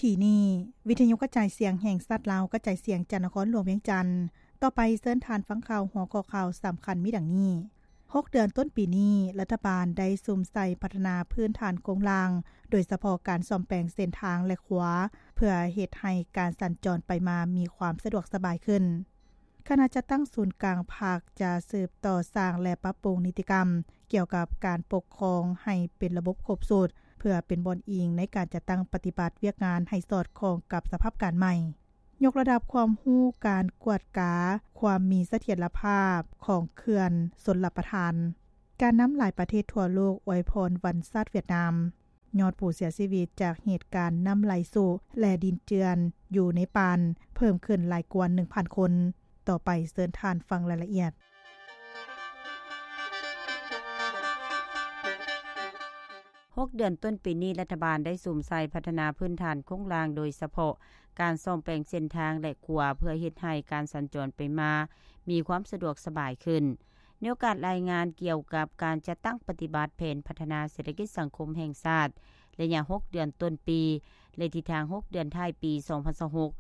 ທີ່ນີ້ ວິທະຍຸກະຈາຍສຽງແຫ່ງຊາດລາວ ກະຈາຍສຽງຈາກນະຄອນຫຼວງວຽງຈັນ. ຕໍ່ໄປເຊີນທ່ານຟັງຂ່າວ ຫົວຂໍ້ຂ່າວສຳຄັນມີດັ່ງນີ້: ຫົກເດືອນຕົ້ນປີນີ້ ລັດຖະບານໄດ້ສຸມໃສ່ພັດທະນາພື້ນຖານໂຄງລ່າງ, ໂດຍສະເພາະການສ້ອມແປງເສັ້ນທາງ ແລະ ຂົວ ເພື່ອເຮັດໃຫ້ການສັນຈອນໄປມາມີຄວາມສະດວກສະບາຍຂຶ້ນ. ຄະນະຈັດຕັ້ງສູນກາງພັກຈະສືບຕໍ່ສ້າງ ແລະ ປັບປຸງນິຕິກຳກ່ຽວກັບການປົກຄອງໃຫ້ເປັນລະບົບຄົບຊຸດ, ເພື່ອເປັນບ່ອນອີງໃນການຈັດຕັ້ງປະຕິບັດວຽກງານໃຫ້ສອດຄ່ອງກັບສະພາບການໃໝ່. ຍົກລະດັບຄວາມຮູ້ການກວດກາຄວາມມີສະຖຽນລະພາບຂອງເຂື່ອນຊົນລະປະທານ. ການນຳຫຼາຍປະເທດທົ່ວໂລກອວຍພອນວັນຊາດຫວຽດນາມ. ຍອດຜູ້ເສຍຊີວິດຈາກເຫດການນ້ຳໄຫຼຊຸ ແລະ ດິນເຈື່ອນຢູ່ເນປານ ເພີ່ມຂຶ້ນຫຼາຍກວ່າໜຶ່ງພັນຄົນ. ຕໍ່ໄປເຊີນທ່ານຟັງລາຍລະອຽດ. ຫົກເດືອນຕົ້ນປີນີ້ ລັດຖະບານໄດ້ສຸມໃສ່ພັດທະນາພື້ນຖານໂຄງລ່າງ, ໂດຍສະເພາະການສ້ອມແປງເສັ້ນທາງ ແລະ ຂົວ ເພື່ອເຮັດໃຫ້ການສັນຈອນໄປມາມີຄວາມສະດວກສະບາຍຂຶ້ນ. ໃນໂອກາດລາຍງານກ່ຽວກັບການຈັດຕັ້ງປະຕິບັດແຜນພັດທະນາເສດຖະກິດສັງຄົມແຫ່ງຊາດ ໄລຍະຫົກເດືອນຕົ້ນປີ ແລະ ທິດທາງຫົກເດືອນທ້າຍປີສອງພັນຊາວຫົກ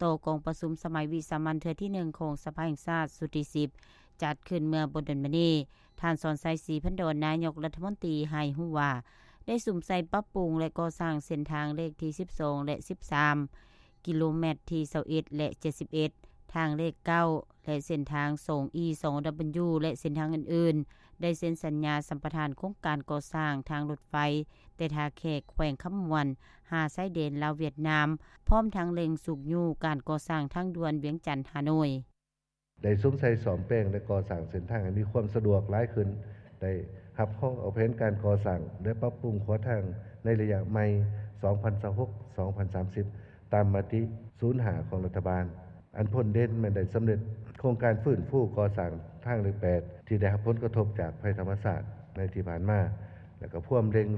ຕໍ່ກອງປະຊຸມສະໄໝວິສາມັນເທື່ອທີໜຶ່ງຂອງສະພາແຫ່ງຊາດຊຸດທີສິບ ຈັດຂຶ້ນເມື່ອບໍ່ດົນມານີ້, ທ່ານ ສອນໄຊ ສີພັນດອນ ນາຍົກລັດຖະມົນຕີ ໃຫ້ຮູ້ວ່າ ໄດ້ສຸມໃສ່ປັບປຸງ ແລະ ກໍ່ສ້າງເສັ້ນທາງເລກທີສິບສອງ ແລະ ສິບສາມ ກິໂລແມັດທີຊາວເອັດ ແລະ ເຈັດສິບເອັດ ທາງເລກເກົ້າ ແລະ ເສັ້ນທາງສອງອີ ສອງດັບເບິນຢູ ແລະ ເສັ້ນທາງອື່ນໆ ໄດ້ເຊັນສັນຍາສຳປະທານໂຄງການກໍ່ສ້າງທາງລົດໄຟ ແຕ່ທ່າແຂກ ແຂວງຄຳມ່ວນ ຫາຊາຍແດນລາວຫວຽດນາມ, ພ້ອມທັງເລັ່ງຊຸກຍູ້ການກໍ່ສ້າງທາງດ່ວນວຽງຈັນ-ຮ່າໂນ້ຍ. ໄດ້ສຸມໃສ່ສ້ອມແປງ ແລະ ກໍ່ສ້າງເສັ້ນທາງໃຫ້ມີຄວາມສະດວກຫຼາຍຂຶ້ນ, ໄດ້ຮັບຮອງເອົາແຜນການກໍ່ສ້າງ ແລະ ປັບປຸງຂົວທາງໃນໄລຍະໃໝ່ ສອງພັນຊາວຫົກ ສອງພັນສາມສິບ ຕາມມະຕິສູນຫ້າຂອງລັດຖະບານ. ອັນພົ້ນເດັ່ນແມ່ນໄດ້ສຳເລັດໂຄງການຟື້ນຟູກໍ່ສ້າງທາງເລກແປດ ທີ່ໄດ້ຮັບຜົນກະທົບຈາກໄພທຳມະຊາດໃນທີ່ຜ່ານມາ ແລະ ກໍພວມເລັ່ງ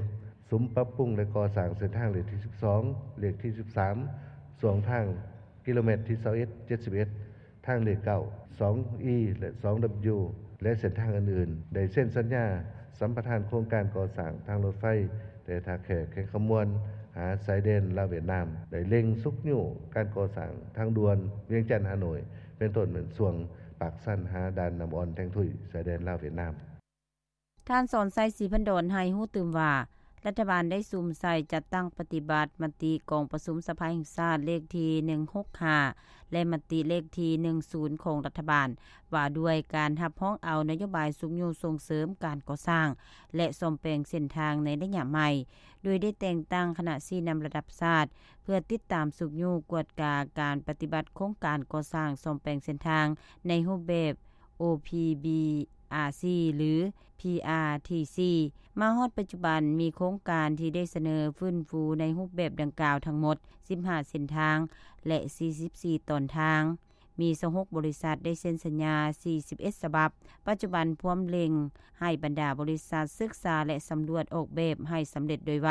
ສຸມປັບປຸງ ແລະ ກໍ່ສ້າງເສັ້ນທາງເລກທີສິບສອງ ເລກທີສິບສາມ ຊ່ວງທາງກິໂລແມັດທີຊາວເອັດ ເຈັດສິບເອັດ ທາງເລກເກົ້າ ສອງອີ ແລະ ສອງດັບເບິນຢູ ແລະ ເສັ້ນທາງອື່ນໆ ໄດ້ເຊັນສັນຍາສຳປະທານໂຄງການກໍ່ສ້າງທາງລົດໄຟ ແຕ່ທ່າແຂກ ແຂວງຄຳມ່ວນ ຫາຊາຍແດນລາວຫວຽດນາມ, ໄດ້ເລັ່ງຊຸກຍູ້ການກໍ່ສ້າງທາງດ່ວນວຽງຈັນ-ຮ່າໂນ້ຍ ເປັນຕົ້ນແມ່ນຊ່ວງປາກຊັນຫາດ່ານນ້ຳອ່ອນແທງທຸຍ ຊາຍແດນລາວຫວຽດນາມ. ທ່ານ ສອນໄຊ ສີພັນດອນ ໃຫ້ຮູ້ຕື່ມວ່າ ລັດຖະບານໄດ້ສຸມໃສ່ຈັດຕັ້ງປະຕິບັດມະຕິກອງປະຊຸມສະພາແຫ່ງຊາດເລກທີໜຶ່ງຫົກຫ້າ ແລະ ມະຕິເລກທີໜຶ່ງສູນຂອງລັດຖະບານ ວ່າດ້ວຍການຮັບຮອງເອົານະໂຍບາຍຊຸກຍູ້ສົ່ງເສີມການກໍ່ສ້າງ ແລະ ສ້ອມແປງເສັ້ນທາງໃນໄລຍະໃໝ່, ໂດຍໄດ້ແຕ່ງຕັ້ງຄະນະຊີ້ນຳລະດັບຊາດ ເພື່ອຕິດຕາມຊຸກຍູ້ກວດກາການປະຕິບັດໂຄງການກໍ່ສ້າງສ້ອມແປງເສັ້ນທາງໃນຮູບແບບ ໂອພີບີອາຊີ ຫຼື ພີອາທີຊີ ມາຮອດປັດຈຸບັນ ມີໂຄງການທີ່ໄດ້ສະເໜີຟື້ນຟູໃນຮູບແບບດັ່ງກ່າວທັງໝົດສິບຫ້າເສັ້ນທາງ ແລະ ສີ່ສິບສີ່ຕອນທາງ, ມີຊາວຫົກບໍລິສັດໄດ້ເຊັນສັນຍາສີ່ສິບເອັດສະບັບ. ປັດຈຸບັນພວມເລັ່ງໃຫ້ບັນດາບໍລິສັດສຶກສາ ແລະ ສຳຫຼວດອອກແບບໃຫ້ສຳເລັດໂດຍໄວ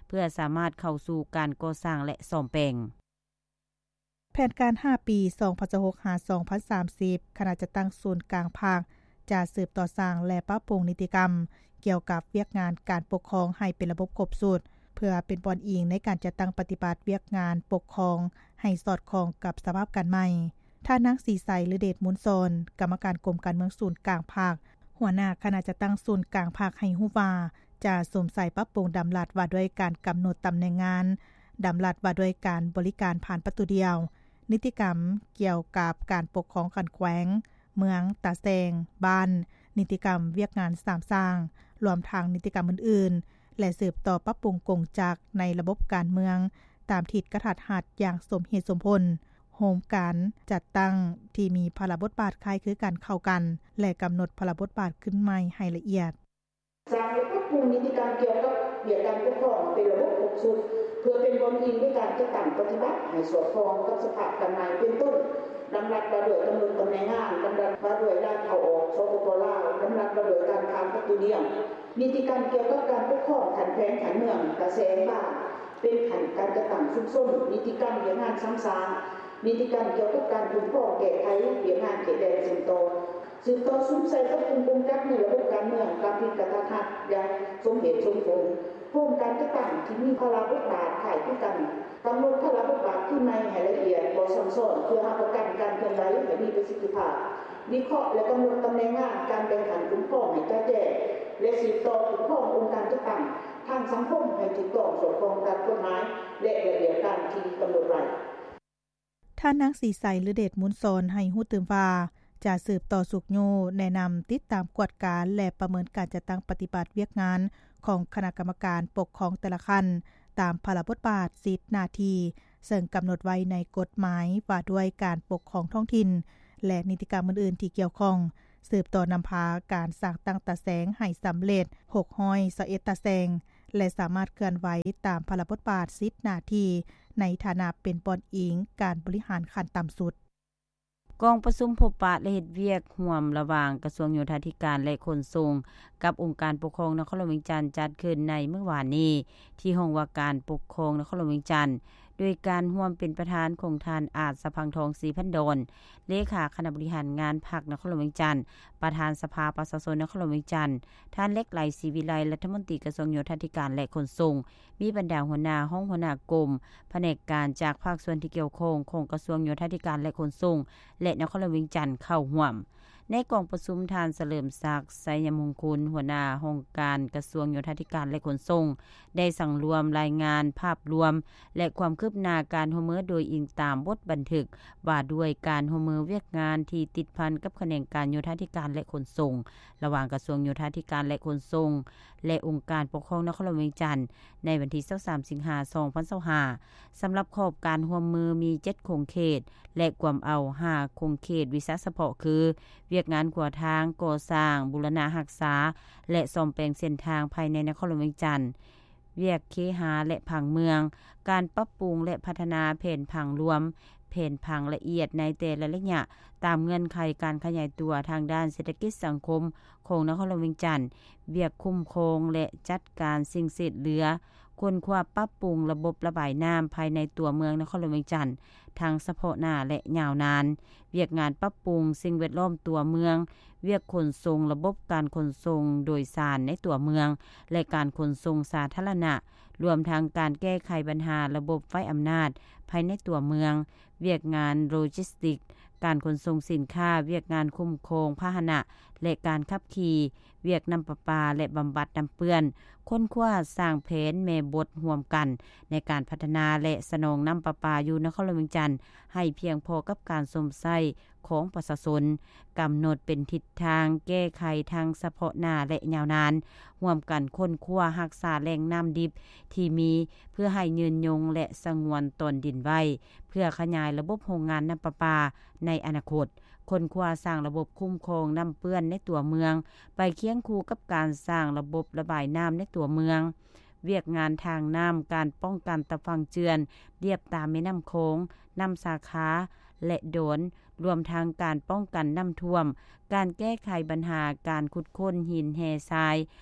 ເພື່ອສາມາດເຂົ້າສູ່ການກໍ່ສ້າງ ແລະ ສ້ອມແປງ. ແຜນການຫ້າປີ ສອງພັນຊາວຫົກ ຫາ ສອງພັນສາມສິບ ຄະນະຈັດຕັ້ງສູນກາງພັກຈະສືບຕໍ່ສ້າງ ແລະ ປັບປຸງນິຕິກຳກ່ຽວກັບວຽກງານການປົກຄອງໃຫ້ເປັນລະບົບຄົບຊຸດ, ເພື່ອເປັນບ່ອນອີງໃນການຈັດຕັ້ງປະຕິບັດວຽກງານປົກຄອງໃຫ້ສອດຄ່ອງກັບສະພາບການໃໝ່. ທ່ານນາງ ສີໃສ ລືເດດມູນສອນ ກຳມະການກົມການເມືອງສູນກາງພັກ, ຫົວໜ້າຄະນະຈັດຕັ້ງສູນກາງພັກ ໃຫ້ຮູ້ວ່າ ຈະສຸມໃສ່ປັບປຸງດຳລັດວ່າດ້ວຍການກຳນົດຕຳແໜ່ງງານ, ດຳລັດວ່າດ້ວຍການບໍລິການຜ່ານປະຕູດຽວ, ນິຕິກຳກ່ຽວກັບການປົກຄອງຂັ້ນແຂວງ, ເມືອງ, ຕາແສງ, ບ້ານ, ນິຕິກຳວຽກງານສາມສ້າງ, ລວມທັງນິຕິກຳອື່ນໆ ແລະ ສືບຕໍ່ປັບປຸງກົງຈັກໃນລະບົບການເມືອງ ຕາມທິດກະທັດຮັດຢ່າງສົມເຫດສົມຜົນ, ໂຮມການຈັດຕັ້ງທີ່ມີພາລະບົດບາດຄ້າຍຄືກັນເຂົ້າກັນ ແລະ ກຳນົດພາລະບົດບາດຂຶ້ນໃໝ່ໃຫ້ລະອຽດ. ສ້າງ ແລະ ປັບປຸງນິຕິກຳກ່ຽວກັບວຽກການປົກຄອງເປັນລະບົບຄົບຊຸດ ເພື່ອເປັນບ່ອນອີງໃນການຈັດຕັ້ງປະຕິບັດໃຫ້ສອດຄ່ອງກັບສະພາບການໃໝ່ ເປັນຕົ້ນ ດຳລັດວ່າດ້ວຍກຳນົດຕຳແໜ່ງງານ, ດຳລັດວ່າດ້ວຍການເຂົ້າອອກ ສປປ ລາວ, ດຳລັດວ່າດ້ວຍການຜ່ານປະຕູດຽວ, ນິຕິກຳກ່ຽວກັບການປົກຄອງຂັ້ນແຂວງ, ຂັ້ນເມືອງ, ຕາແສງ, ບ້ານ ເປັນຂັ້ນການຈັດຕັ້ງຊຸມຊົນ, ນິຕິກຳວຽກງານສາມສ້າງ, ນິຕິກຳກ່ຽວກັບການຄຸ້ມຄອງແກ້ໄຂວຽກງານເຂດແດນເຊື່ອມຕໍ່, ສືບຕໍ່ສຸມໃສ່ປັບປຸງກົງຈັກໃນລະບົບການເມືອງຕາມທິດກະທັດຮັດຢ່າງສົມເຫດສົມຜົນ, ໂຮມການຈັດຕັ້ງທີ່ມີພາລະບົດບາດຄ້າຍ ກັນກຳນົດພາລະບົດບາດຄືນໃໝ່ໃຫ້ລະອຽດ, ບໍ່ຊ້ຳຊ້ອນ, ເພື່ອຮັບປະກັນການເຄື່ອນໄຫວໃຫ້ມີປະສິດທິພາບ, ວິເຄາະ ແລະ ກຳນົດຕຳແໜ່ງງານການແບ່ງຂັ້ນຄຸ້ມຄອງໃຫ້ຈະແຈ້ງ ແລະ ສືບຕໍ່ຄຸ້ມຄອງອົງການຈັດຕັ້ງທາງສັງຄົມໃຫ້ຖືກຕ້ອງສອດຄ່ອງຕາມກົດໝາຍ ແລະ ລະບຽບການທີ່ກຳນົດໄວ້. ທ່ານນາງ ສີໃສ ລືເດດມູນສອນ ໃຫ້ຮູ້ຕື່ມວ່າ ຈະສືບຕໍ່ຊຸກຍູ້ແນະນຳ, ຕິດຕາມກວດກາ ແລະ ປະເມີນການຈັດຕັ້ງປະຕິບັດວຽກງານຂອງຄະນະກຳມະການປົກຄອງແຕ່ລະຂັ້ນ ຕາມພາລະບົດບາດ, ສິດ, ໜ້າທີ່ ເຊິ່ງກຳນົດໄວ້ໃນກົດໝາຍວ່າດ້ວຍການປົກຄອງທ້ອງຖິ່ນ ແລະ ນິຕິກຳອື່ນໆທີ່ກ່ຽວຂ້ອງ, ສືບຕໍ່ນຳພາການສ້າງຕັ້ງຕາແສງໃຫ້ສຳເລັດ ຫົກຮ້ອຍຊາວເອັດຕາແສງ ແລະ ສາມາດເຄື່ອນໄຫວຕາມພາລະບົດບາດ, ສິດ, ໜ້າທີ່ ໃນຖານະເປັນບ່ອນອີງການບໍລິຫານຂັ້ນຕ່ຳສຸດ. ກອງປະຊຸມພົບປະ ແລະ ເຮັດວຽກຮ່ວມລະຫວ່າງກະຊວງໂຍທາທິການ ແລະ ຂົນສົ່ງ ກັບອົງການປົກຄອງນະຄອນຫຼວງວຽງຈັນ ຈັດຂຶ້ນໃນມື້ວານນີ້ ທີ່ຫ້ອງວ່າການປົກຄອງນະຄອນຫຼວງວຽງຈັນ ໂດຍການຮ່ວມເປັນປະທານຂອງທ່ານ ອາດສະພັງທອງ ສີພັນດອນ ເລຂາຄະນະບໍລິຫານງານພັກນະຄອນຫຼວງວຽງຈັນ, ປະທານສະພາປະຊາຊົນນະຄອນຫຼວງວຽງຈັນ, ທ່ານ ເລັກໄລ ສີວິໄລ ລັດຖະມົນຕີກະຊວງໂຍທາທິການ ແລະ ຂົນສົ່ງ, ມີບັນດາຫົວໜ້າຫ້ອງ, ຫົວໜ້າກົມ, ພະແນກການຈາກພາກສ່ວນທີ່ກ່ຽວຂ້ອງຂອງກະຊວງໂຍທາທິການ ແລະ ຂົນສົ່ງ ແລະ ນະຄອນຫຼວງວຽງຈັນເຂົ້າຮ່ວມ. ໃນກອງປະຊຸມ, ທ່ານ ສະເຫຼີມສັກ ໄຊຍະມຸງຄຸນ ຫົວໜ້າຫ້ອງການກະຊວງໂຍທາທິການ ແລະ ຂົນສົ່ງ ໄດ້ສັງລວມລາຍງານພາບລວມ ແລະ ຄວາມຄືບໜ້າການຮ່ວມມືໂດຍອີງຕາມບົດບັນທຶກວ່າດ້ວຍການຮ່ວມມືວຽກງານທີ່ຕິດພັນກັບຂະແໜງການໂຍທາທິການ ແລະ ຂົນສົ່ງ ລະຫວ່າງກະຊວງໂຍທາທິການ ແລະ ຂົນສົ່ງ ແລະ ອົງການປົກຄອງນະຄອນຫຼວງວຽງຈັນ ໃນວັນທີຊາວສາມ ສິງຫາ ສອງພັນຊາວຫ້າ. ສຳລັບຂອບການຮ່ວມມືມີເຈັດຂົງເຂດ ແລະ ກວມເອົາຫ້າຂົງເຂດວິຊາສະເພາະຄື ວຽກງານຂົວທາງ, ກໍ່ສ້າງ, ບູລະນະຮັກສາ ແລະ ສ້ອມແປງເສັ້ນທາງພາຍໃນນະຄອນຫຼວງວຽງຈັນ, ວຽກເຄຫາ ແລະ ຜັງເມືອງ, ການປັບປຸງ ແລະ ພັດທະນາແຜນຜັງລວມ, ແຜນຜັງລະອຽດໃນແຕ່ລະໄລຍະ ຕາມເງື່ອນໄຂການຂະຫຍາຍຕົວທາງດ້ານເສດຖະກິດສັງຄົມຂອງນະຄອນຫຼວງວຽງຈັນ, ວຽກຄຸ້ມຄອງ ແລະ ຈັດການສິ່ງເສດເຫຼືອ, ຄົ້ນຄວ້າປັບປຸງລະບົບລະບາຍນ້ຳພາຍໃນຕົວເມືອງນະຄອນຫຼວງວຽງຈັນ ທັງສະເພາະໜ້າ ແລະ ຍາວນານ, ວຽກງານປັບປຸງສິ່ງແວດລ້ອມຕົວເມືອງ, ວຽກຂົນສົ່ງ, ລະບົບການຂົນສົ່ງໂດຍສານໃນຕົວເມືອງ ແລະ ການຂົນສົ່ງສາທາລະນະ, ລວມທັງການແກ້ໄຂບັນຫາລະບົບໄຟອຳນາດພາຍໃນຕົວເມືອງ, ວຽກງານໂລຈິສຕິກ, ການຂົນສົ່ງສິນຄ້າ, ວຽກງານຄຸ້ມຄອງພາຫະນະ ແລະ ການຂັບຂີ່, ວຽກນ້ຳປະປາ ແລະ ບຳບັດນ້ຳເປື້ອນ, ຄົ້ນຄວ້າສ້າງແຜນແມ່ບົດຮ່ວມກັນໃນການພັດທະນາ ແລະ ສະໜອງນ້ຳປະປາຢູ່ນະຄອນຫຼວງວຽງຈັນ ໃຫ້ພຽງພໍກັບການຊົມໃຊ້ຂອງປະຊາຊົນ, ກຳນົດເປັນທິດທາງແກ້ໄຂທັງສະເພາະໜ້າ ແລະ ຍາວນານ, ຮ່ວມກັນຄົ້ນຄວ້າຮັກສາແຫຼ່ງນ້ຳດິບທີ່ມີ ເພື່ອໃຫ້ຍືນຍົງ ແລະ ສະຫງວນຕອນດິນໄວ້ ເພື່ອຂະຫຍາຍລະບົບໂຮງງານນ້ຳປະປາໃນອະນາຄົດ, ຄົ້ນຄວ້າສ້າງລະບົບຄຸ້ມຄອງນ້ຳເປື້ອນໃນຕົວເມືອງ ໄປຄຽງຄູ່ກັບການສ້າງລະບົບລະບາຍນ້ຳໃນຕົວເມືອງ, ວຽກງານທາງນ້ຳ, ການປ້ອງກັນຕາຝັ່ງເຈື່ອນລຽບຕາມແມ່ນ້ຳຂອງ, ນ້ຳສາຂາ ແລະ ດອນ, ລວມທັງການປ້ອງກັນນ້ຳຖ້ວມ, ການແກ້ໄຂບັນຫາການຂຸດຄົ້ນຫີນແຮ່ຊາຍ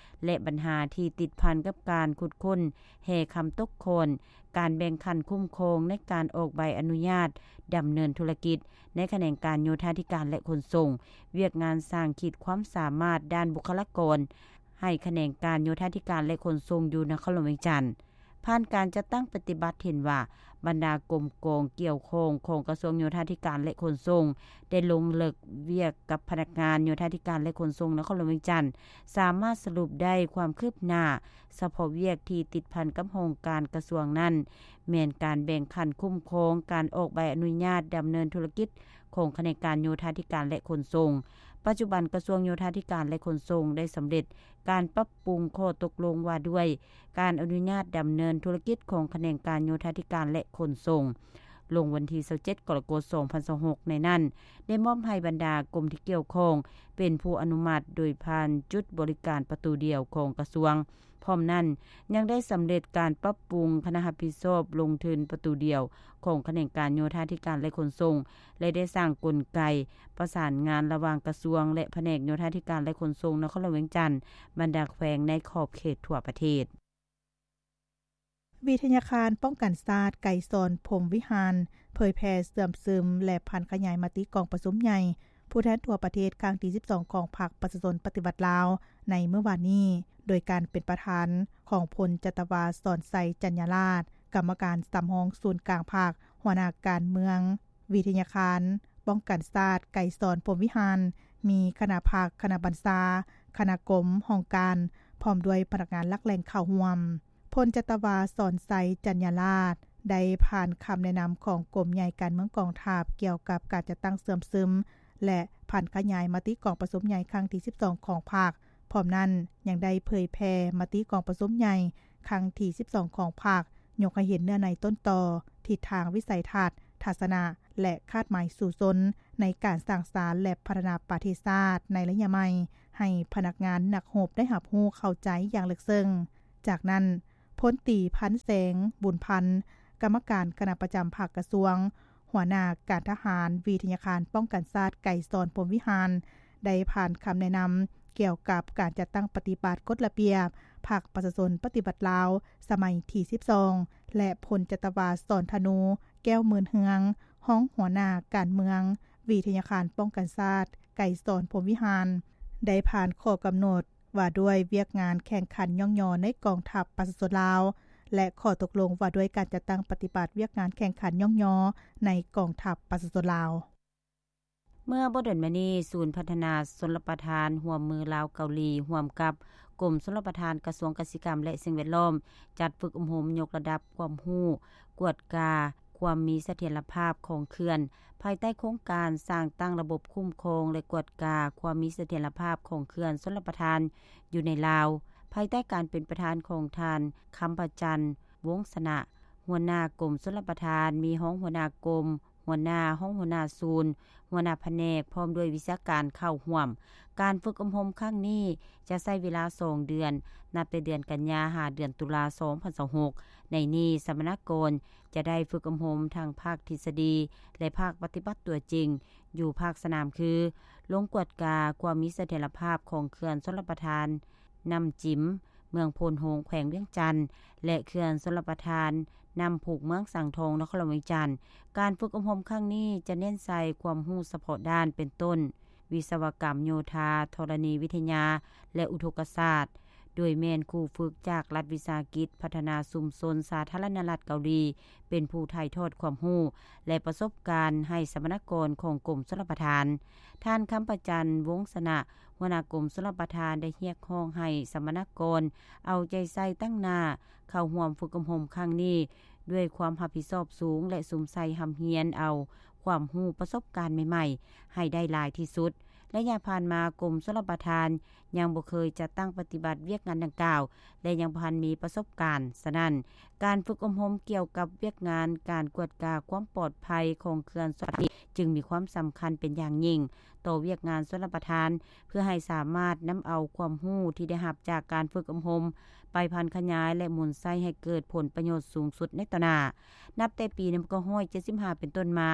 ແລະ ບັນຫາທີ່ຕິດພັນກັບການຂຸດຄົ້ນແຮ່ຄຳຕົກຂ້ອນ, ການແບ່ງຂັ້ນຄຸ້ມຄອງໃນການອອກໃບອະນຸຍາດດຳເນີນທຸລະກິດໃນຂະແໜງການໂຍທາທິການ ແລະ ຂົນສົ່ງ, ວຽກງານສ້າງຂີດຄວາມສາມາດດ້ານບຸກຄະລາກອນໃຫ້ຂະແໜງການໂຍທາທິການ ແລະ ຂົນສົ່ງຢູ່ນະຄອນຫຼວງວຽງຈັນ. ຜ່ານການຈັດຕັ້ງປະຕິບັດເຫັນວ່າ ບັນດາກົມກອງກ່ຽວຂ້ອງຂອງກະຊວງໂຍທາທິການ ແລະ ຂົນສົ່ງ ໄດ້ລົງເລິກວຽກກັບພະນັກງານໂຍທາທິການ ແລະ ຂົນສົ່ງນະຄອນຫຼວງວຽງຈັນ ສາມາດສະຫຼຸບໄດ້ຄວາມຄືບໜ້າສະເພາະວຽກທີ່ຕິດພັນກັບຫ້ອງການກະຊວງນັ້ນ ແມ່ນການແບ່ງຂັ້ນຄຸ້ມຄອງການອອກໃບອະນຸຍາດດຳເນີນທຸລະກິດຂອງຂະແໜງການໂຍທາທິການ ແລະ ຂົນສົ່ງ. ປັດຈຸບັນກະຊວງໂຍທາທິການ ແລະ ຂົນສົ່ງໄດ້ສຳເລັດການປັບປຸງຂໍ້ຕົກລົງວ່າດ້ວຍ ການອະນຸຍາດດຳເນີນທຸລະກິດຂອງຂະແໜງການໂຍທາທິການ ແລະ ຂົນສົ່ງ ລົງວັນທີຊາວເຈັດ ກໍລະກົດ ສອງພັນຊາວຫົກ ໃນນັ້ນ ໄດ້ມອບໃຫ້ບັນດາກົມທີ່ກ່ຽວຂ້ອງເປັນຜູ້ອະນຸມັດໂດຍຜ່ານຈຸດບໍລິການປະຕູດຽວຂອງກະຊວງ. ພ້ອມນັ້ນ ຍັງໄດ້ສຳເລັດການປັບປຸງຄະນະຮັບຜິດຊອບລົງທຶນປະຕູດຽວຂອງຂະແໜງການໂຍທາທິການ ແລະ ຂົນສົ່ງ ແລະ ໄດ້ສ້າງກົນໄກປະສານງານລະຫວ່າງກະຊວງ ແລະ ພະແນກໂຍທາທິການ ແລະ ຂົນສົ່ງນະຄອນຫຼວງວຽງຈັນ ບັນດາແຂວງໃນຂອບເຂດທົ່ວປະເທດ. ວິທະຍາຄານປ້ອງກັນຊາດ ໄກສອນ ພົມວິຫານ ເຜີຍແຜ່ເຊື່ອມຊຶມ ແລະ ຜັນຂະຫຍາຍມະຕິກອງປະຊຸມໃຫຍ່ຜູ້ແທນທົ່ວປະເທດຄັ້ງທີສິບສອງ ຂອງພັກປະຊາຊົນປະຕິວັດລາວ ໃນມື້ວານນີ້ ໂດຍການເປັນປະທານຂອງພົນຈັດຕະວາ ສອນໄຊ ຈັນຍາລາດ ກຳມະການສຳຮອງສູນກາງພັກ, ຫົວໜ້າການເມືອງ, ວິທະຍາຄານປ້ອງກັນຊາດ ໄກສອນ ພົມວິຫານ, ມີຄະນະພັກ, ຄະນະບັນຊາ, ຄະນະກົມ, ຫ້ອງການ ພ້ອມດ້ວຍພະນັກງານຫຼັກແຫຼ່ງເຂົ້າຮ່ວມ. ພົນຈັດຕະວາ ສອນໄຊ ຈັນຍາລາດ ໄດ້ຜ່ານຄຳແນະນຳຂອງກົມໃຫຍ່ການເມືອງກອງທັບ ກ່ຽວກັບການຈັດຕັ້ງເຊື່ອມຊຶມ ແລະ ຜັນຂະຫຍາຍມະຕິກອງປະຊຸມໃຫຍ່ຄັ້ງທີສິບສອງຂອງພັກ. ພ້ອມນັ້ນ ຍັງໄດ້ເຜີຍແຜ່ມະຕິກອງປະຊຸມໃຫຍ່ຄັ້ງທີສິບສອງຂອງພັກ, ຍົກໃຫ້ເຫັນເນື້ອໃນຕົ້ນຕໍ, ທິດທາງ, ວິໄສທັດ, ທັດສະນະ ແລະ ຄາດໝາຍສູ້ຊົນ ໃນການສ້າງສານ ແລະ ພັດທະນາປະເທດຊາດໃນໄລຍະໃໝ່ ໃຫ້ພະນັກງານນັກຮົບໄດ້ຮັບຮູ້ເຂົ້າໃຈຢ່າງເລິກເຊິ່ງ. ຈາກນັ້ນ, ພົນຕີ ພັນແສງ ບຸນພັນ ກຳມະການຄະນະປະຈຳພັກກະຊວງ, ຫົວໜ້າການທະຫານ ວິທະຍາຄານປ້ອງກັນຊາດ ໄກສອນ ພົມວິຫານ ໄດ້ຜ່ານຄຳແນະນຳກ່ຽວກັບການຈັດຕັ້ງປະຕິບັດກົດລະບຽບພັກປະຊາຊົນປະຕິວັດລາວ ສະໄໝທີສິບສອງ ແລະ ພົນຈັດຕະວາ ສອນທະນູ ແກ້ວໝື່ນເຮືອງ ຮອງຫົວໜ້າການເມືອງ ວິທະຍາຄານປ້ອງກັນຊາດ ໄກສອນ ພົມວິຫານ ໄດ້ຜ່ານຂໍ້ກຳນົດ ວ່າດ້ວຍວຽກງານແຂ່ງຂັນຍ້ອງຍໍໃນກອງທັບປະຊາຊົນລາວ ແລະ ຂໍ້ຕົກລົງວ່າດ້ວຍການຈັດຕັ້ງປະຕິບັດວຽກງານແຂ່ງຂັນຍ້ອງຍໍໃນກອງທັບປະຊາຊົນລາວ. ເມື່ອບໍ່ດົນມານີ້, ສູນພັດທະນາຊົນລະປະທານຮ່ວມມືລາວ-ເກົາຫຼີ ຮ່ວມກັບກົມຊົນລະປະທານ, ກະຊວງກະສິກຳ ແລະ ສິ່ງແວດລ້ອມ ຈັດຝຶກອົບຮົມຍົກລະດັບຄວາມຮູ້ ກວດກາຄວາມມີສະຖຽນລະພາບຂອງເຂື່ອນ ພາຍໃຕ້ໂຄງການສ້າງຕັ້ງລະບົບຄຸ້ມຄອງ ແລະ ກວດກາຄວາມມີສະຖຽນລະພາບຂອງເຂື່ອນຊົນລະປະທານຢູ່ໃນລາວ ພາຍໃຕ້ການເປັນປະທານຂອງທ່ານ ຄຳພະຈັນ ວົງຊະນະ ຫົວໜ້າກົມຊົນລະປະທານ, ມີຮອງຫົວໜ້າກົມ, ຫົວໜ້າ, ຮອງຫົວໜ້າສູນ, ຫົວໜ້າພະແນກ ພ້ອມດ້ວຍວິຊາການເຂົ້າຮ່ວມ. ການຝຶກອົບຮົມຄັ້ງນີ້ຈະໃຊ້ເວລາສອງເດືອນ, ນັບແຕ່ເດືອນກັນຍາ ຫາເດືອນຕຸລາ ສອງພັນຊາວຫົກ. ໃນນີ້, ສຳມະນາກອນຈະໄດ້ຝຶກອົບຮົມທັງພາກທິດສະດີ ແລະ ພາກປະຕິບັດຕົວຈິງ ຢູ່ພາກສະໜາມຄື ລົງກວດກາຄວາມມີສະຖຽນລະພາບຂອງເຂື່ອນຊົນລະປະທານນ້ຳຈິມ ເມືອງໂພນໂຮງ ແຂວງວຽງຈັນ ແລະ ເຂື່ອນຊົນລະປະທານນ້ຳພຸກ ເມືອງສັງທອງ ນະຄອນຫຼວງວຽງຈັນ. ການຝຶກອົບຮົມຄັ້ງນີ້ຈະເນັ້ນໃສ່ຄວາມຮູ້ສະເພາະດ້ານ ເປັນຕົ້ນ ວິສະວະກຳໂຍທາ, ທໍລະນີວິທະຍາ ແລະ ອຸທົກກະສາດ, ໂດຍແມ່ນຄູຝຶກຈາກລັດວິສາຫະກິດພັດທະນາຊຸມຊົນສາທາລະນະລັດເກົາຫຼີ ເປັນຜູ້ຖ່າຍທອດຄວາມຮູ້ ແລະ ປະສົບການໃຫ້ສຳມະນາກອນຂອງກົມຊົນລະປະທານ. ທ່ານ ຄຳພະຈັນ ວົງຊະນະ ຫົວໜ້າກົມຊົນລະປະທານ ໄດ້ຮຽກຮ້ອງໃຫ້ສຳມະນາກອນເອົາໃຈໃສ່ຕັ້ງໜ້າເຂົ້າຮ່ວມຝຶກອົບຮົມຄັ້ງນີ້ ດ້ວຍຄວາມຮັບຜິດຊອບສູງ ແລະ ສຸມໃສ່ຮ່ຳຮຽນເອົາຄວາມຮູ້ປະສົບການໃໝ່ໆ ໃຫ້ໄດ້ຫຼາຍທີ່ສຸດ. ໄລຍະຜ່ານມາ, ກົມຊົນລະປະທານຍັງບໍ່ເຄີຍຈັດຕັ້ງປະຕິບັດວຽກງານດັ່ງກ່າວ ແລະ ຍັງບໍ່ທັນມີປະສົບການ. ສະນັ້ນ, ການຝຶກອົບຮົມກ່ຽວກັບວຽກງານການກວດກາຄວາມປອດໄພຂອງເຂື່ອນຊົນລະປະທານ ຈຶ່ງມີຄວາມສຳຄັນເປັນຢ່າງຍິ່ງຕໍ່ວຽກງານຊົນລະປະທານ ເພື່ອໃຫ້ສາມາດນຳເອົາຄວາມຮູ້ທີ່ໄດ້ຮັບຈາກການຝຶກອົບຮົມ ໄປຜັນຂະຫຍາຍ ແລະ ໝູນໃຊ້ໃຫ້ເກີດຜົນປະໂຫຍດສູງສຸດໃນຕໍ່ໜ້າ. ນັບແຕ່ປີໜຶ່ງພັນເກົ້າຮ້ອຍເຈັດສິບຫ້າເປັນຕົ້ນມາ,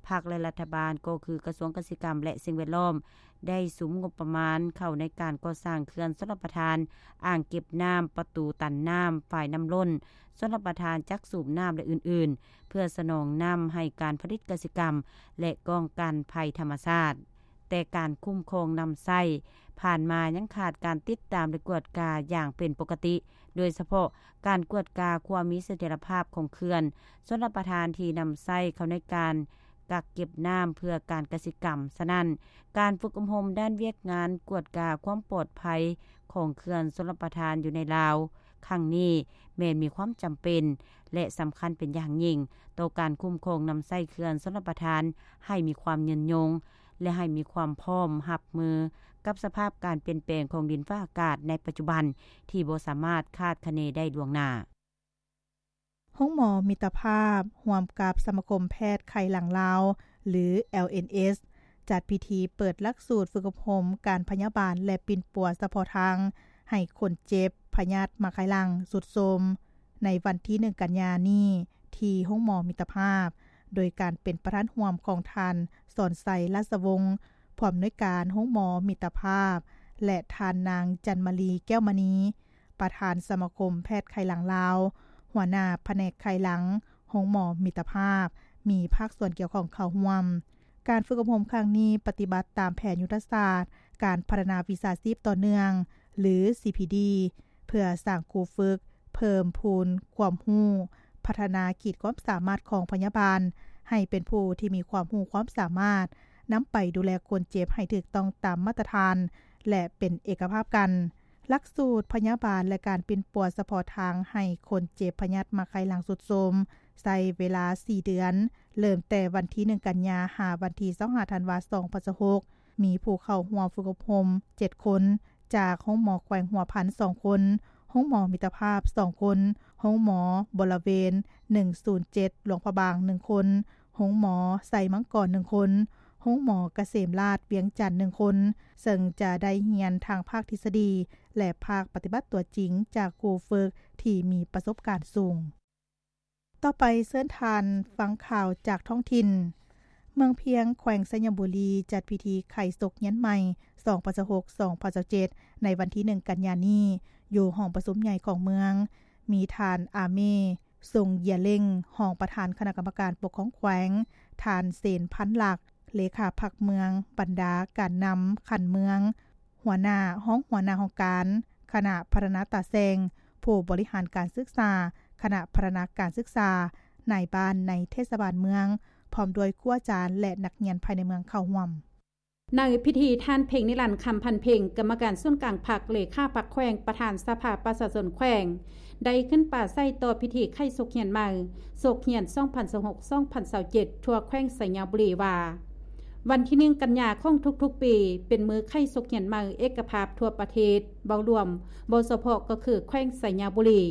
ພັກ ແລະ ລັດຖະບານ ກໍຄືກະຊວງກະສິກຳ ແລະ ສິ່ງແວດລ້ອມ ໄດ້ສຸມງົບປະມານເຂົ້າໃນການກໍ່ສ້າງເຂື່ອນຊົນລະປະທານ, ອ່າງເກັບນ້ຳ, ປະຕູຕັນນ້ຳ, ຝາຍນ້ຳລົ້ນ, ຊົນລະປະທານຈັກສູບນ້ຳ ແລະ ອື່ນໆ ເພື່ອສະໜອງນ້ຳໃຫ້ການຜະລິດກະສິກຳ ແລະ ປ້ອງກັນໄພທຳມະຊາດ. ແຕ່ການຄຸ້ມຄອງນຳໃຊ້ຜ່ານມາຍັງຂາດການຕິດຕາມ ແລະ ກວດກາຢ່າງເປັນປົກກະຕິ, ໂດຍສະເພາະການກວດກາຄວາມມີສະຖຽນລະພາບຂອງເຂື່ອນຊົນລະປະທານທີ່ນຳໃຊ້ເຂົ້າໃນການກັກເກັບນ້ຳເພື່ອການກະສິກຳ. ສະນັ້ນ, ການຝຶກອົບຮົມດ້ານວຽກງານກວດກາຄວາມປອດໄພຂອງເຂື່ອນຊົນລະປະທານຢູ່ໃນລາວຄັ້ງນີ້ ແມ່ນມີຄວາມຈຳເປັນ ແລະ ສຳຄັນເປັນຢ່າງຍິ່ງຕໍ່ການຄຸ້ມຄອງນຳໃຊ້ເຂື່ອນຊົນລະປະທານໃຫ້ມີຄວາມຍືນຍົງ ແລະ ໃຫ້ມີຄວາມພ້ອມຮັບມືກັບສະພາບການປ່ຽນແປງຂອງດິນຟ້າອາກາດໃນປັດຈຸບັນທີ່ບໍ່ສາມາດຄາດຄະເນໄດ້ລ່ວງໜ້າ. ໂຮງໝໍມິດຕະພາບ ຮ່ວມກັບສະມາຄົມແພດໄຂ້ຫຼັງລາວ ຫຼື ແອລເອັນເອສ ຈັດພິທີເປີດຫຼັກສູດຝຶກອົບຮົມການພະຍາບານ ແລະ ປິ່ນປົວສະເພາະທາງໃຫ້ຄົນເຈັບພະຍາດໝາກໄຂ່ຫຼັງຊຸດໂຊມ ໃນວັນທີໜຶ່ງ ກັນຍານີ້ ທີ່ໂຮງໝໍມິດຕະພາບ ໂດຍການເປັນປະທານຮ່ວມຂອງທ່ານ ສອນໄຊ ລາຊະວົງ ຜູ້ອຳນວຍການໂຮງໝໍມິດຕະພາບ ແລະ ທ່ານນາງ ຈັນມາລີ ແກ້ວມະນີ ປະທານສະມາຄົມແພດໄຂ້ຫຼັງລາວ, ຫົວໜ້າພະແນກໄຂ້ຫຼັງໂຮງໝໍມິດຕະພາບ ມີພາກສ່ວນກ່ຽວຂ້ອງເຂົ້າຮ່ວມ. ການຝຶກອົບຮົມຄັ້ງນີ້ປະຕິບັດຕາມແຜນຍຸດທະສາດການພັດທະນາວິຊາຊີບຕໍ່ເນື່ອງ ຫຼື ຊີພີດີ ເພື່ອສ້າງຄູຝຶກ, ເພີ່ມພູນຄວາມຮູ້, ພັດທະນາຂີດຄວາມສາມາດຂອງພະຍາບານ ໃຫ້ເປັນຜູ້ທີ່ມີຄວາມຮູ້ຄວາມສາມາດ ນຳໄປດູແລຄົນເຈັບໃຫ້ຖືກຕ້ອງຕາມມາດຕະຖານ ແລະ ເປັນເອກະພາບກັນ. ຫຼັກສູດພະຍາບານ ແລະ ການປິ່ນປົວສະເພາະທາງໃຫ້ຄົນເຈັບພະຍາດໝາກໄຂ່ຫຼັງຊຸດໂຊມ ໃຊ້ເວລາສີ່ເດືອນ, ເລີ່ມແຕ່ວັນທີໜຶ່ງ ກັນຍາ ຫາວັນທີຊາວຫ້າ ທັນວາ ສອງພັນຊາວຫົກ ມີຜູ້ເຂົ້າຮ່ວມຝຶກອົບຮົມເຈັດຄົນ, ຈາກໂຮງໝໍແຂວງຫົວພັນສອງຄົນ, ໂຮງໝໍມິດຕະພາບສອງຄົນ, ໂຮງໝໍບໍລະເວນໜຶ່ງສູນເຈັດ ຫຼວງພະບາງໜຶ່ງຄົນ, ໂຮງໝໍໄຊມັງກອນໜຶ່ງຄົນ, ໂຮງໝໍກະເສມລາດວຽງຈັນໜຶ່ງຄົນ, ເຊິ່ງຈະໄດ້ຮຽນທັງພາກທິດສະດີ ແລະ ພາກປະຕິບັດຕົວຈິງຈາກຄູຝຶກທີ່ມີປະສົບການສູງ. ຕໍ່ໄປເຊີນທ່ານຟັງຂ່າວຈາກທ້ອງຖິ່ນ. ເມືອງພຽງ ແຂວງໄຊຍະບູລີ ຈັດພິທີໄຂສົກຮຽນໃໝ່ ສອງພັນຊາວຫົກ ສອງພັນຊາວເຈັດ ໃນວັນທີໜຶ່ງ ກັນຍານີ້ ຢູ່ຫ້ອງປະຊຸມໃຫຍ່ຂອງເມືອງ. ມີທ່ານ ອາເມ ຊົງເຢຍເລັງ ຮອງປະທານຄະນະກຳມະການປົກຄອງແຂວງ, ທ່ານ ເສນ ພັນລັກ ເລຂາພັກເມືອງ, ບັນດາການນຳຂັ້ນເມືອງ, ຫົວໜ້າ, ຮອງຫົວໜ້າຫ້ອງການ, ຄະນະພັດທະນາຕາແຊງ, ຜູ້ບໍລິຫານການສຶກສາ, ຄະນະພັດທະນາການສຶກສາ, ນາຍບ້ານໃນເທດສະບານເມືອງ, ພ້ອມດ້ວຍຄູອາຈານ ແລະ ນັກຮຽນພາຍໃນເມືອງເຂົ້າຮ່ວມ. ໃນພິທີ, ທ່ານ ເພັງນິລັນ ຄຳພັນເພັງ ກຳມະການສູນກາງພັກ, ເລຂາພັກແຂວງ, ປະທານສະພາປະຊາຊົນແຂວງ ໄດ້ຂຶ້ນປາໄສຕໍ່ພິທີໄຂສົກຮຽນໃໝ່ ສົກຮຽນສອງພັນຊາວຫົກ ສອງພັນຊາວເຈັດ ທົ່ວແຂວງໄຊຍະບູລີວ່າ, ວັນທີໜຶ່ງ ກັນຍາຂອງທຸກໆປີ ເປັນມື້ໄຂສົກຮຽນໃໝ່ເອກະພາບທົ່ວປະເທດ, ເວົ້າລວມ, ເວົ້າສະເພາະກໍຄືແຂວງໄຊຍະບູລີ.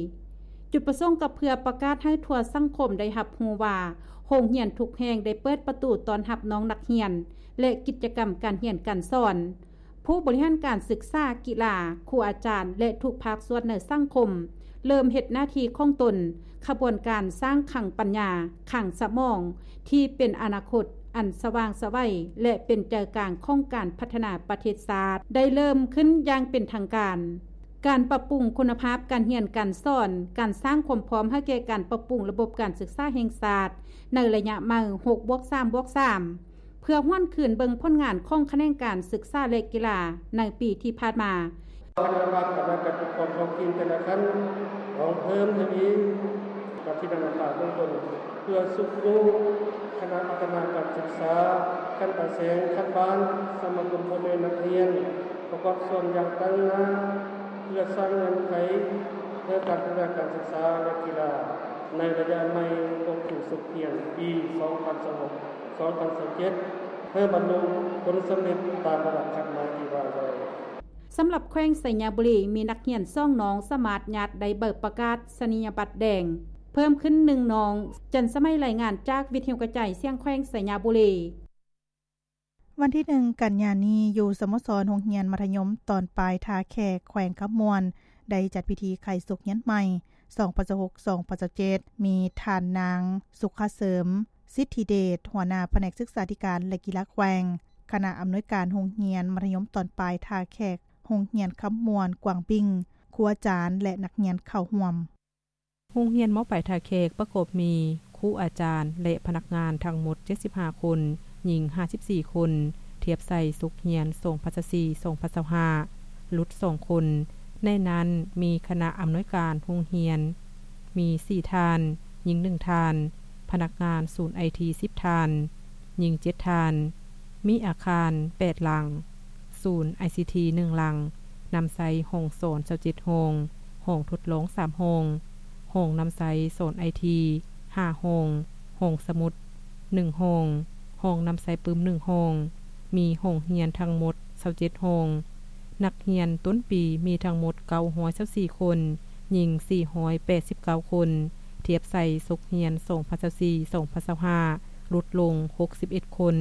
ຈຸດປະສົງກໍເພື່ອປະກາດໃຫ້ທົ່ວສັງຄົມໄດ້ຮັບຮູ້ວ່າ ໂຮງຮຽນທຸກແຫ່ງໄດ້ເປີດປະຕູຕ້ອນຮັບນ້ອງນັກຮຽນ ແລະ ກິດຈະກຳການຮຽນການສອນ. ຜູ້ບໍລິຫານການສຶກສາ, ກິລາ, ຄູອາຈານ ແລະ ທຸກພາກສ່ວນໃນສັງຄົມ ເລີ່ມເຮັດໜ້າທີ່ຂອງຕົນ. ຂະບວນການສ້າງຄັງປັນຍາ, ຄັງສະໝອງ ທີ່ເປັນອະນາຄົດອັນສະຫວ່າງໄສວ ແລະ ເປັນໃຈກາງຂອງການພັດທະນາປະເທດຊາດ ໄດ້ເລີ່ມຂຶ້ນຢ່າງເປັນທາງການ. ການປັບປຸງຄຸນນະພາບການຮຽນການສອນ, ການສ້າງຄວາມພ້ອມໃຫ້ແກ່ການປັບປຸງລະບົບການສຶກສາແຫ່ງຊາດ ໃນໄລຍະໃໝ່ ຫົກບວກສາມບວກສາມ ເພື່ອຫວນຄືນເບິ່ງຜົນງານຂອງຂະແໜງການສຶກສາ ແລະ ກິລາໃນປີທີ່ຜ່ານມາ. ຄະນະກຳມະການຈັດຕັ້ງການປົກຄອງທ້ອງຖິ່ນແຕ່ລະຂັ້ນ ຕ້ອງເພີ່ມທະວີການພິຈາລະນາເບື້ອງຕົ້ນ ເພື່ອຊຸກຍູ້ຄະນະພັດທະນາການສຶກສາຂັ້ນຕາແສງ, ຂັ້ນບ້ານ, ສະມາຄົມພໍ່ແມ່ນັກຮຽນ ປະກອບສ່ວນຢ່າງຕັ້ງໜ້າ ເພື່ອສ້າງເງື່ອນໄຂໃຫ້ການພັດທະນາການສຶກສາ ແລະ ກິລາ ໃນໄລຍະໃໝ່ຂອງປີສົກຮຽນປີສອງພັນຊາວຫົກ ສອງພັນຊາວເຈັດ ໃຫ້ບັນລຸຜົນສຳເລັດຕາມລະດັບຄາດໝາຍທີ່ວາງໄວ້. ສຳລັບແຂວງໄຊຍະບູລີ ມີນັກຮຽນສອງນ້ອງສາມາດຍາດໄດ້ໃບປະກາສະນີຍະບັດແດງເພີ່ມຂຶ້ນໜຶ່ງນ້ອງ. ຈັນສະໄໝ ລາຍງານຈາກວິທະຍຸກະຈາຍສຽງແຂວງໄຊຍະບູລີ. ວັນທີໜຶ່ງ ກັນຍານີ້ ຢູ່ສະໂມສອນໂຮງຮຽນມັດທະຍົມຕອນປາຍທ່າແຂກ ແຂວງຄຳມ່ວນ ໄດ້ຈັດພິທີໄຂສົກຮຽນໃໝ່ ສອງພັນຊາວຫົກ ສອງພັນຊາວເຈັດ ມີທ່ານນາງ ສຸຂະເສີມ ສິດທິເດດ ຫົວໜ້າພະແນກສຶກສາທິການ ແລະ ກິລາແຂວງ, ຄະນະອຳນວຍການໂຮງຮຽນມັດທະຍົມຕອນປາຍທ່າແຂກ ໂຮງຮຽນຄຳມ່ວນກວາງບິງ, ຄູອາຈານ ແລະ ນັກຮຽນເຂົ້າຮ່ວມ. ໂຮງຮຽນ ມ.ປາຍທ່າແຂກ ປະກອບມີຄູອາຈານ ແລະ ພະນັກງານທັງໝົດເຈັດສິບຫ້າຄົນ, ຍິງຫ້າສິບສີ່ຄົນ, ທຽບໃສ່ສົກຮຽນສອງພັນຊາວສີ່ ສອງພັນຊາວຫ້າ ຫຼຸດສອງຄົນ. ໃນນັ້ນມີຄະນະອຳນວຍການໂຮງຮຽນ ມີສີ່ທ່ານ, ຍິງໜຶ່ງທ່ານ, ພະນັກງານສູນໄອທີສິບທ່ານ, ຍິງເຈັດທ່ານ, ມີອາຄານແປດຫຼັງ, ສູນໄອຊີທີໜຶ່ງຫຼັງ, ນຳໃຊ້ຫ້ອງສອນຊາວເຈັດຫ້ອງ, ຫ້ອງທົດລອງສາມຫ້ອງ, ຫ້ອງນຳໃຊ້ສອນໄອທີຫ້າຫ້ອງ, ຫ້ອງສະໝຸດໜຶ່ງຫ້ອງ, ຫ້ອງນຳໃຊ້ປຶ້ມໜຶ່ງຫ້ອງ, ມີຫ້ອງຮຽນທັງໝົດຊາວເຈັດຫ້ອງ. ນັກຮຽນຕົ້ນປີມີທັງໝົດເກົ້າຮ້ອຍຊາວສີ່ຄົນ, ຍິງສີ່ຮ້ອຍແປດສິບເກົ້າຄົນ, ທຽບໃສ່ສົກຮຽນສອງພັນຊາວສີ່ ສອງພັນຊາວຫ້າ ຫຼຸດລົງຫົກສິບເອັດຄົນ.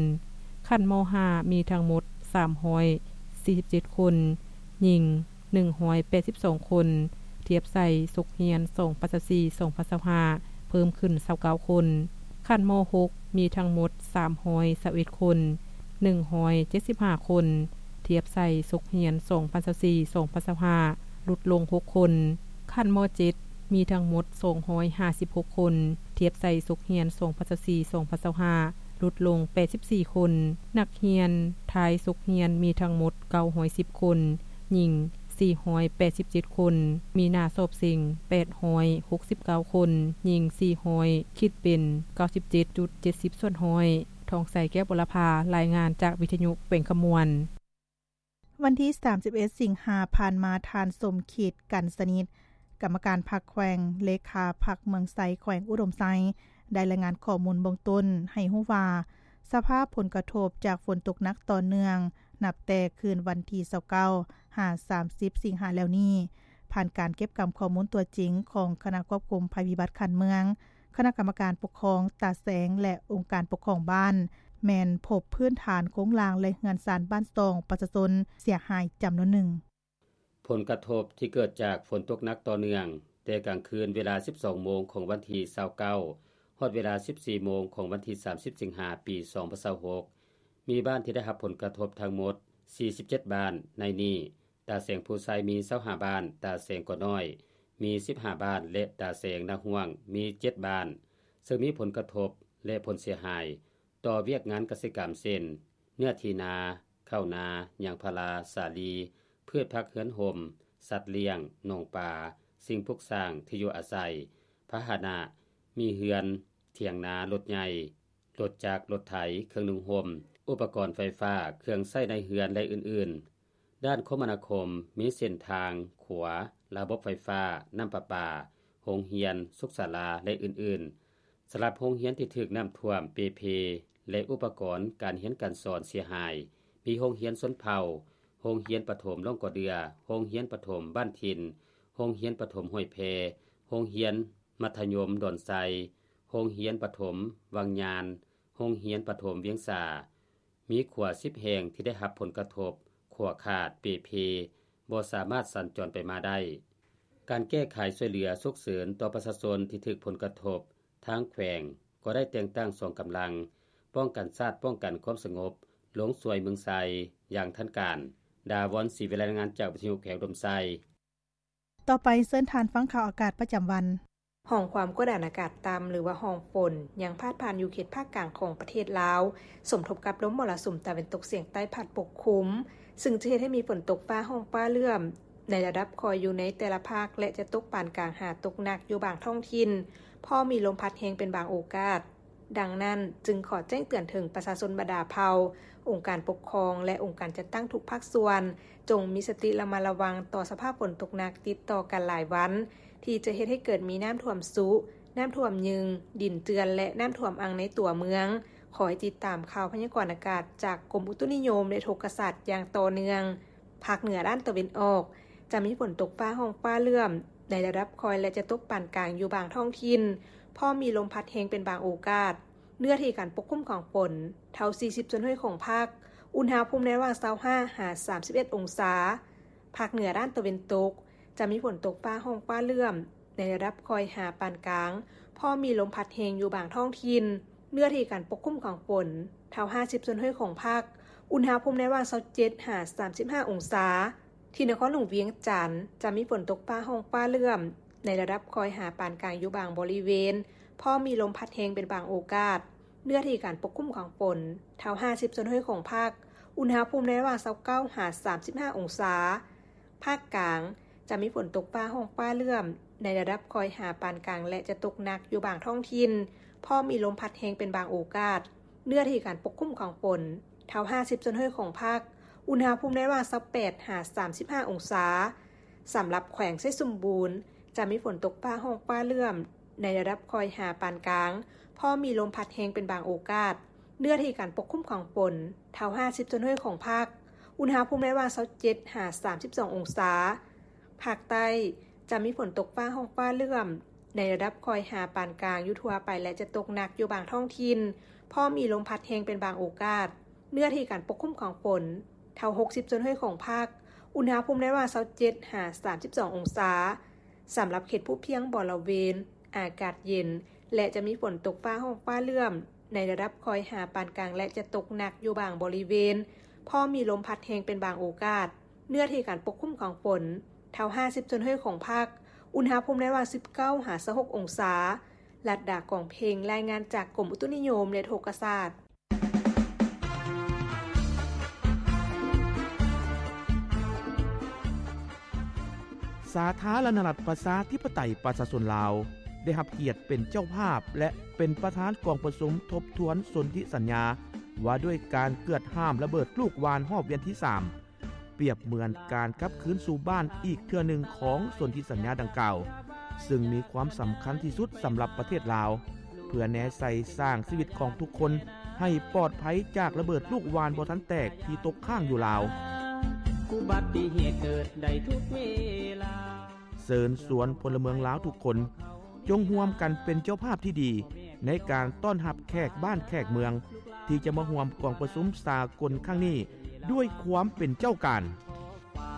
ຂັ້ນ ມ.ຫ້າ ມີທັງໝົດສາມຮ້ອຍສີ່ສິບເຈັດຄົນ, ຍິງໜຶ່ງຮ້ອຍແປດສິບສອງຄົນ, ທຽບໃສ່ສົກຮຽນສອງພັນຊາວສີ່ ສອງພັນຊາວຫ້າ ເພີ່ມຂຶ້ນຊາວເກົ້າຄົນ. ຂັ້ນ ມ.ຫົກ ມີທັງໝົດສາມຮ້ອຍຊາວເອັດຄົນ, ໜຶ່ງຮ້ອຍເຈັດສິບຫ້າຄົນ, ທຽບໃສ່ສົກຮຽນສອງພັນຊາວສີ່ ສອງພັນຊາວຫ້າ ຫຼຸດລົງຫົກຄົນ. ຂັ້ນ ມ.ເຈັດ ມີທັງໝົດສອງຮ້ອຍຫ້າສິບຫົກຄົນ, ທຽບໃສ່ສົກຮຽນສອງພັນຊາວສີ່ ສອງພັນຊາວຫ້າ ຫຼຸດລົງແປດສິບສີ່ຄົນ. ນັກຮຽນທ້າຍສົກຮຽນມີທັງໝົດເກົ້າຮ້ອຍສິບຄົນ, ຍິງ ສີ່ຮ້ອຍແປດສິບເຈັດຄົນ, ມີໜ້າສອບເສັງແປດຮ້ອຍຫົກສິບເກົ້າຄົນ, ຍິງສີ່ຮ້ອຍ ຄິດເປັນເກົ້າສິບເຈັດຈຸດເຈັດສິບສ່ວນຮ້ອຍ. ທອງໃສ ແກ້ວບຸລະພາ ລາຍງານຈາກວິທະຍຸແຂວງຄຳມ່ວນ. ວັນທີສາມສິບເອັດ ສິງຫາຜ່ານມາ, ທ່ານ ສົມຄິດ ກັນສະໜິດ ກຳມະການພັກແຂວງ, ເລຂາພັກເມືອງໄຊ ແຂວງອຸດົມໄຊ ໄດ້ລາຍງານຂໍ້ມູນເບື້ອງຕົ້ນໃຫ້ຮູ້ວ່າ ສະພາບຜົນກະທົບຈາກຝົນຕົກໜັກຕໍ່ເນື່ອງ ນັບແຕ່ຄືນວັນທີຊາວເກົ້າ ຫາ ສາມສິບ ສິງຫາແລ້ວນີ້, ຜ່ານການເກັບກຳຂໍ້ມູນຕົວຈິງຂອງຄະນະຄວບຄຸມໄພພິບັດຂັ້ນເມືອງ, ຄະນະກຳມະການປົກຄອງຕາແສງ ແລະ ອົງການປົກຄອງບ້ານ ແມ່ນພົບພື້ນຖານໂຄງລ່າງ ແລະ ເຮືອນຊານບ້ານຊ່ອງປະຊາຊົນເສຍຫາຍຈຳນວນໜຶ່ງ. ຜົນກະທົບທີ່ເກີດຈາກຝົນຕົກໜັກຕໍ່ເນື່ອງ ແຕ່ກາງຄືນເວລາສິບສອງໂມງຂອງວັນທີຊາວເກົ້າ ຮອດເວລາສິບສີ່ໂມງຂອງວັນທີສາມສິບ ສິງຫາ ປີສອງພັນຊາວຫົກ ມີບ້ານທີ່ໄດ້ຮັບຜົນກະທົບທັງໝົດສີ່ສິບເຈັດບ້ານ, ໃນນີ້ ຕາແສງພູໄຊມີຊາວຫ້າບ້ານ, ຕາແສງກໍນ້ອຍມີສິບຫ້າບ້ານ ແລະ ຕາແສງນາຮ່ວງມີເຈັດບ້ານ, ເຊິ່ງມີຜົນກະທົບ ແລະ ຜົນເສຍຫາຍຕໍ່ວຽກງານກະສິກຳ ເຊັ່ນ ເນື້ອທີ່ນາ, ເຂົ້ານາ, ຍາງພາລາ, ສາລີ, ພືດຜັກເຮືອນຮົ່ມ, ສັດລ້ຽງ, ໜອງປາ, ສິ່ງປຸກສ້າງ, ທີ່ຢູ່ອາໄສ, ພາຫະນະ, ມີເຮືອນ, ຖຽງນາ, ລົດໃຫຍ່, ລົດຈັກ, ລົດໄຖ, ເຄື່ອງນຸ່ງຫົ່ມ, ອຸປະກອນໄຟຟ້າ, ເຄື່ອງໃຊ້ໃນເຮືອນ ແລະ ອື່ນໆ. ດ້ານຄົມມະນາຄົມ ມີເສັ້ນທາງ, ຂົວ, ລະບົບໄຟຟ້າ, ນ້ຳປະປາ, ໂຮງຮຽນ, ສຸກສາລາ ແລະ ອື່ນໆ. ສຳລັບໂຮງຮຽນທີ່ຖືກນ້ຳຖ້ວມເປ່ເພ ແລະ ອຸປະກອນການຮຽນການສອນເສຍຫາຍ ມີໂຮງຮຽນຊົນເຜົ່າ, ໂຮງຮຽນປະຖົມລ້ອງກໍເດືອ, ໂຮງຮຽນປະຖົມບ້ານຖິ່ນ, ໂຮງຮຽນປະຖົມຫ້ວຍແພ, ໂຮງຮຽນມັດທະຍົມດອນໄຊ, ໂຮງຮຽນປະຖົມວັງຍານ, ໂຮງຮຽນປະຖົມວຽງສາ. ມີຂົວສິບແຫ່ງທີ່ໄດ້ຮັບຜົນກະທົບ, ຂົວຂາດ, ເປ່ເພ, ບໍ່ສາມາດສັນຈອນໄປມາໄດ້. ການແກ້ໄຂຊ່ວຍເຫຼືອສຸກເສີນຕໍ່ປະຊາຊົນທີ່ຖືກຜົນກະທົບ, ທາງແຂວງກໍໄດ້ແຕ່ງຕັ້ງສອງກຳລັງປ້ອງກັນຊາດ, ປ້ອງກັນຄວາມສະຫງົບ ລົງຊ່ວຍເມືອງໄຊຢ່າງທັນການ. ດາວອນ ສີວິໄລ ລາຍງານຈາກວິທະຍຸແຂວງອຸດົມໄຊ. ຕໍ່ໄປເຊີນທ່ານຟັງຂ່າວອາກາດປະຈຳວັນ. ຮ່ອງຄວາມກົດອາກາດຕ່ຳ ຫຼືວ່າຮ່ອງຝົນ ຍັງພາດຜ່ານຢູ່ເຂດພາກກາງຂອງປະເທດລາວ, ສົມທົບກັບລົມມໍລະສຸມຕາເວັນຕົກສຽງໃຕ້ພັດປົກຄຸມ, ຊຶ່ງຈະເຮັດໃຫ້ມີຝົນຕົກຟ້າຮ້ອງຟ້າເຫຼື້ອມໃນລະດັບຄ່ອຍຢູ່ໃນແຕ່ລະພາກ ແລະ ຈະຕົກປານກາງຫາຕົກໜັກຢູ່ບາງທ້ອງຖິ່ນ, ພໍມີລົມພັດແຮງເປັນບາງໂອກາດ. ດັ່ງນັ້ນ, ຈຶ່ງຂໍແຈ້ງເຕືອນເຖິງປະຊາຊົນບັນດາເຜົ່າ, ອົງການປົກຄອງ ແລະ ອົງການຈັດຕັ້ງທຸກພາກສ່ວນ, ຈົ່ງມີສະຕິລະມັດລະວັງຕໍ່ສະພາບຝົນຕົກໜັກຕິດຕໍ່ກັນຫຼາຍວັນ, ທີ່ຈະເຮັດໃຫ້ເກີດມີນ້ຳຖ້ວມຊຸ, ນ້ຳຖ້ວມຍຶງ, ດິນເຈື່ອນ ແລະ ນ້ຳຖ້ວມອັ່ງໃນຕົວເມືອງ. ຂໍໃຫ້ຕິດຕາມຂ່າວພະຍາກອນອາກາດຈາກກົມອຸຕຸນິຍົມ ແລະ ອຸທົກກະສາດຢ່າງຕໍ່ເນື່ອງ. ພາກເໜືອດ້ານຕາເວັນອອກ ຈະມີຝົນຕົກຟ້າຮ້ອງຟ້າເຫຼື້ອມໃນລະດັບຄ່ອຍ ແລະ ຈະຕົກປານກາງຢູ່ບາງທ້ອງຖິ່ນ, ພໍມີລົມພັດແຮງເປັນບາງໂອກາດ. ເນື້ອທີ່ການປົກຄຸມຂອງຝົນ ເທົ່າສີ່ສິບສ່ວນຮ້ອຍຂອງພາກ, ອຸນຫະພູມໃນລະຫວ່າງຊາວຫ້າຫາສາມສິບເອັດອົງສາ. ພາກເໜືອດ້ານຕາເວັນຕົກ ຈະມີຝົນຕົກຟ້າຮ້ອງຟ້າເຫຼື້ອມໃນລະດັບຄ່ອຍຫາປານກາງ, ພໍມີລົມພັດແຮງຢູ່ບາງທ້ອງຖິ່ນ. ເນື້ອທີ່ການປົກຄຸມຂອງຝົນ ເທົ່າຫ້າສິບສ່ວນຮ້ອຍຂອງພາກ, ອຸນຫະພູມໃນລະຫວ່າງຊາວເຈັດຫາສາມສິບຫ້າອົງສາ. ທີ່ນະຄອນຫຼວງວຽງຈັນ ຈະມີຝົນຕົກຟ້າຮ້ອງຟ້າເຫຼື້ອມໃນລະດັບຄ່ອຍຫາປານກາງຢູ່ບາງບໍລິເວນ, ພໍມີລົມພັດແຮງເປັນບາງໂອກາດ. ເນື້ອທີ່ການປົກຄຸມຂອງຝົນ ເທົ່າຫ້າສິບສ່ວນຮ້ອຍຂອງພາກ, ອຸນຫະພູມໃນລະຫວ່າງຊາວເກົ້າຫາສາມສິບຫ້າອົງສາ. ພາກກາງ ຈະມີຝົນຕົກຟ້າຮ້ອງຟ້າເຫຼື້ອມໃນລະດັບຄ່ອຍຫາປານກາງ ແລະ ຈະຕົກໜັກຢູ່ບາງທ້ອງຖິ່ນ, ພໍມີລົມພັດແຮງເປັນບາງໂອກາດ. ເນື້ອທີ່ການປົກຄຸມຂອງຝົນ ເທົ່າຫ້າສິບສ່ວນຮ້ອຍຂອງພາກ, ອຸນຫະພູມໃນລະຫວ່າງຊາວແປດຫາສາມສິບຫ້າອົງສາ. ສຳລັບແຂວງໄຊສົມບູນ ຈະມີຝົນຕົກຟ້າຮ້ອງຟ້າເຫຼື້ອມໃນລະດັບຄ່ອຍຫາປານກາງ, ພໍມີລົມພັດແຮງເປັນບາງໂອກາດ. ເນື້ອທີ່ການປົກຄຸມຂອງຝົນ ເທົ່າຫ້າສິບສ່ວນຮ້ອຍຂອງພາກ, ອຸນຫະພູມໃນລະຫວ່າງຊາວເຈັດຫາສາມສິບສອງອົງສາ. ພາກໃຕ້ ຈະມີຝົນຕົກຟ້າຮ້ອງຟ້າເຫຼື້ອມໃນລະດັບຄ່ອຍຫາປານກາງຢູ່ທົ່ວໄປ ແລະ ຈະຕົກໜັກຢູ່ບາງທ້ອງຖິ່ນ, ພໍມີລົມພັດແຮງເປັນບາງໂອກາດ. ເນື້ອທີ່ການປົກຄຸມຂອງຝົນ ເທົ່າຫົກສິບສ່ວນຮ້ອຍຂອງພາກ, ອຸນຫະພູມໃນລະຫວ່າງຊາວເຈັດຫາສາມສິບສອງອົງສາ. ສຳລັບເຂດພູພຽງບໍລະເວນ ອາກາດເຢັນ ແລະ ຈະມີຝົນຕົກຟ້າຮ້ອງຟ້າເຫຼື້ອມໃນລະດັບຄ່ອຍຫາປານກາງ ແລະ ຈະຕົກໜັກຢູ່ບາງບໍລິເວນ, ພໍມີລົມພັດແຮງເປັນບາງໂອກາດ. ເນື້ອທີ່ການປົກຄຸມຂອງຝົນ ເທົ່າຫ້າສິບສ່ວນຮ້ອຍຂອງພາກ, ອຸນຫະພູມໃນລະຫວ່າງສິບເກົ້າຫາຊາວຫົກອົງສາ. ລັດດາ ກອງເພັງ ລາຍງານຈາກກົມອຸຕຸນິຍົມ ແລະ ອຸທົກກະສາດ. ສາທາລະນະລັດ ປະຊາທິປະໄຕ ປະຊາຊົນລາວ ໄດ້ຮັບກຽດເປັນເຈົ້າພາບ ແລະ ເປັນປະທານກອງປະຊຸມທົບທວນສົນທິສັນຍາ ວ່າດ້ວຍການເກືອດຫ້າມລະເບີດລູກຫວ່ານຮອບວຽນທີສາມ ປຽບເໝືອນການກັບຄືນສູ່ບ້ານອີກເທື່ອໜຶ່ງຂອງສົນທິສັນຍາດັ່ງກ່າວ, ຊຶ່ງມີຄວາມສຳຄັນທີ່ສຸດສຳລັບປະເທດລາວ ເພື່ອແນໃສ່ສ້າງຊີວິດຂອງທຸກຄົນໃຫ້ປອດໄພຈາກລະເບີດລູກຫວ່ານບໍ່ທັນແຕກທີ່ຕົກຄ້າງຢູ່ລາວ. ອຸບັດຕິເຫດເກີດໄດ້ທຸກເວລາ. ເຊີນຊວນພົນລະເມືອງລາວທຸກຄົນ ຈົ່ງຮ່ວມກັນເປັນເຈົ້າພາບທີ່ດີໃນການຕ້ອນຮັບແຂກບ້ານແຂກເມືອງ ທີ່ຈະມາຮ່ວມກອງປະຊຸມສາກົນຄັ້ງນີ້ດ້ວຍຄວາມເປັນເຈົ້າການ.